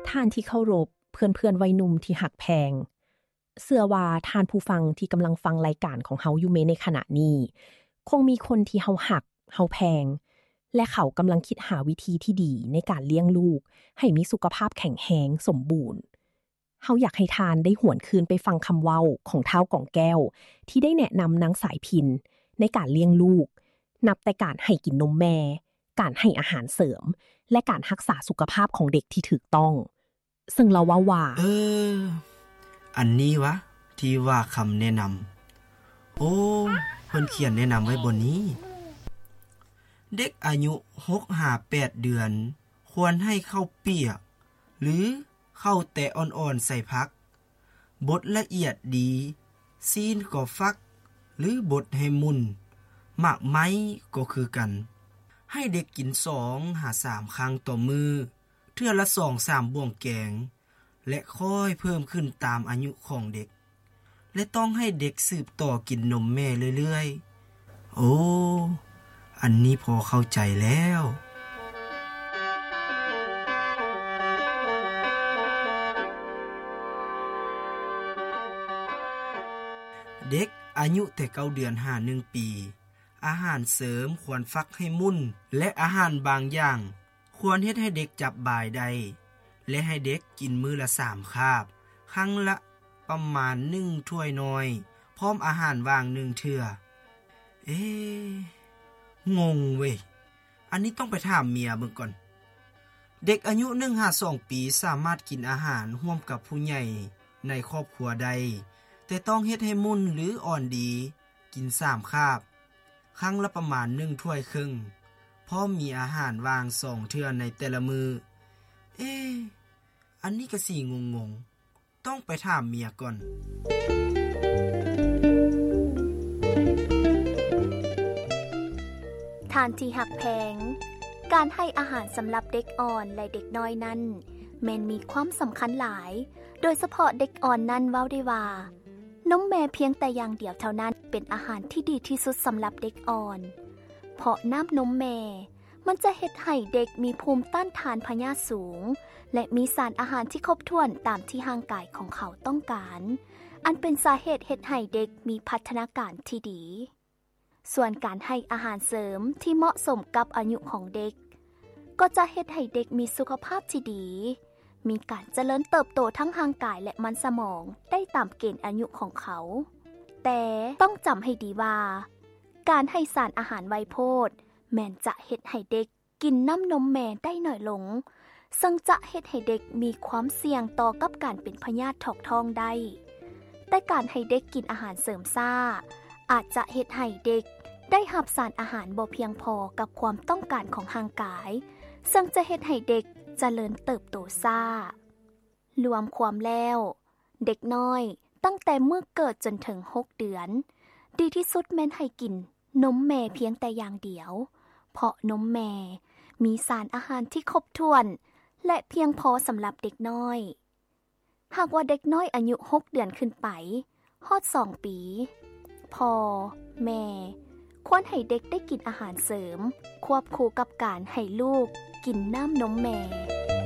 ທ່ານທີ່ເຄົາລົບ, ເພື່ອນໆໄວໜຸ່ມທີ່ຮັກແພງ, ເຊື່ອວ່າທ່ານຜູ້ຟັງທີ່ກຳລັງຟັງລາຍການຂອງເຮົາຢູ່ໃນຂະນະນີ້ ຄົງມີຄົນທີ່ເຮົາຮັກ, ເຮົາແພງ ແລະ ເຂົາກຳລັງຄິດຫາວິທີທີ່ດີໃນການລ້ຽງລູກໃຫ້ມີສຸຂະພາບແຂງແຮງ, ສົມບູນ. ເຮົາຢາກໃຫ້ທ່ານໄດ້ຫວນຄືນໄປຟັງຄຳເວົ້າຂອງທ້າວກອງແກ້ວ ທີ່ໄດ້ແນະນຳນາງສາຍພິນໃນການລ້ຽງລູກ, ນັບແຕ່ການໃຫ້ກິນນົມແມ່, ການໃຫ້ອາຫານເສີມ ແລະ ການຮັກສາສຸຂະພາບຂອງເດັກທີ່ຖືກຕ້ອງ. ເຊິ່ງລາວເວົ້າວ່າ ເອີ ອັນນີ້ຫວາ ທີ່ວ່າຄຳແນະນຳ. ໂອ້ ເພິ່ນຂຽນແນະນຳໄວ້ບ່ອນນີ້. ເດັກອາຍຸຫົກຫາແປດເດືອນ ຄວນໃຫ້ເຂົ້າປຽກ ຫຼື ເຂົ້າແຕະອ່ອນໆໃສ່ຜັກ, ບົດລະອຽດດີ, ຊີ້ນກໍຟັກ ຫຼື ບົດໃຫ້ມຸ່ນ, ໝາກໄມ້ກໍຄືກັນ. ໃຫ້ເດັກກິນສອງຫາສາມຄັ້ງຕໍ່ມື້, ເທື່ອລະສອງສາມບ່ວງແກງ ແລະ ຄ່ອຍເພີ່ມຂຶ້ນຕາມອາຍຸຂອງເດັກ ແລະ ຕ້ອງໃຫ້ເດັກສືບຕໍ່ກິນນົມແມ່ເລື້ອຍໆ. ໂອ້ ອັນນີ້ພໍເຂົ້າໃຈແລ້ວ. ເດັກອາຍຸແຕ່ເກົ້າເດືອນຫາໜຶ່ງປີ, ອາຫານເສີມຄວນຟັກໃຫ້ມຸ່ນ ແລະ ອາຫານບາງຢ່າງ ຄວນເຮັດໃຫ້ເດັກຈັບບາຍໄດ້ ແລະ ໃຫ້ເດັກກິນມື້ລະສາມຄາບ, ຄັ້ງລະປະມານໜຶ່ງຖ້ວຍນ້ອຍ, ພ້ອມອາຫານຫວ່າງໜຶ່ງເທື່ອ. ເອ ງົງເວີຍ, ອັນນີ້ຕ້ອງໄປຖາມເມຍເບິ່ງກ່ອນ. ເດັກອາຍຸໜຶ່ງຫາສອງປີສາມາດກິນອາຫານຮ່ວມກັບຜູ້ໃຫຍ່ໃນຄອບຄົວໄດ້, ແຕ່ຕ້ອງເຮັດໃຫ້ມຸ່ນ ຫຼື ອ່ອນດີ. ກິນສາມຄາບ, ຄັ້ງລະປະມານໜຶ່ງຖ້ວຍເຄິ່ງ, ພ້ອມມີອາຫານຫວ່າງສອງເທື່ອໃນແຕ່ລະມື້. ເອ ອັນນີ້ກະຊິງົງໆ, ຕ້ອງໄປຖາມເມຍກ່ອນ. ທ່ານທີ່ຮັກແພງ, ການໃຫ້ອາຫານສຳລັບເດັກອ່ອນ ແລະ ເດັກນ້ອຍນັ້ນ ແມ່ນມີຄວາມສຳຄັນຫຼາຍ, ໂດຍສະເພາະເດັກອ່ອນນັ້ນເວົ້າໄດ້ວ່າ ນົມແມ່ພຽງແຕ່ຢ່າງດຽວເທົ່ານັ້ນເປັນອາຫານທີ່ດີທີ່ສຸດສຳລັບເດັກອ່ອນ, ເພາະນ້ຳນົມແມ່ມັນຈະເຮັດໃຫ້ເດັກມີພູມຕ້ານທານພະຍາດສູງ ແລະ ມີສານອາຫານທີ່ຄົບຖ້ວນຕາມທີ່ຮ່າງກາຍຂອງເຂົາຕ້ອງການ, ອັນເປັນສາເຫດເຮັດໃຫ້ເດັກມີພັດທະນາການທີ່ດີ. ສ່ວນການໃຫ້ອາຫານເສີມທີ່ເໝາະສົມກັບອາຍຸຂອງເດັກ ກໍຈະເຮັດໃຫ້ເດັກມີສຸຂະພາບທີ່ດີ, ມີການຈະເລີນເຕີບໂຕທັງຮ່າງກາຍ ແລະ ມັນສະໝອງໄດ້ຕາມເກນອາຍຸຂອງເຂົາ. ແຕ່ຕ້ອງຈຳໃຫ້ດີວ່າ ການໃຫ້ສານອາຫານໄວໂພດແມ່ນຈະເຮັດໃຫ້ເດັກ ກິນນ້ຳນົມແມ່ໄດ້ໜ້ອຍລົງ, ເຊິ່ງຈະເຮັດໃຫ້ເດັກມີຄວາມສ່ຽງຕໍ່ກັບການເປັນພະຍາດຖອກທ້ອງໄດ້. ແຕ່ການໃຫ້ເດັກກິນອາຫານເສີມຊ້າ ອາດຈະເຮັດໃຫ້ເດັກໄດ້ຮັບສານອາຫານບໍ່ພຽງພໍກັບຄວາມຕ້ອງການຂອງຮ່າງກາຍ, ເຊິ່ງຈະເຮັດໃຫ້ເດັກຈະເລີນເຕີບໂຕຊ້າ. ລວມຄວາມແລ້ວ, ເດັກນ້ອຍຕັ້ງແຕ່ມື້ເກີດຈົນເຖິງຫົກເດືອນ, ດີທີ່ສຸດແມ່ນໃຫ້ກິນນົມແມ່ພຽງແຕ່ຢ່າງດຽວ, ເພາະນົມແມ່ມີສານອາຫານທີ່ຄົບຖ້ວນ ແລະ ພຽງພໍສຳລັບເດັກນ້ອຍ. ຫາກວ່າເດັກນ້ອຍອາຍຸຫົກເດືອນຂຶ້ນໄປ, ຮອດສອງປີ, ພໍ່, ແມ່ ຄວນໃຫ້ເດັກໄດ້ກິນອາຫານເສີມ ຄວບຄູ່ກັບການໃຫ້ລູກກິນນ້ຳນົມແມ່.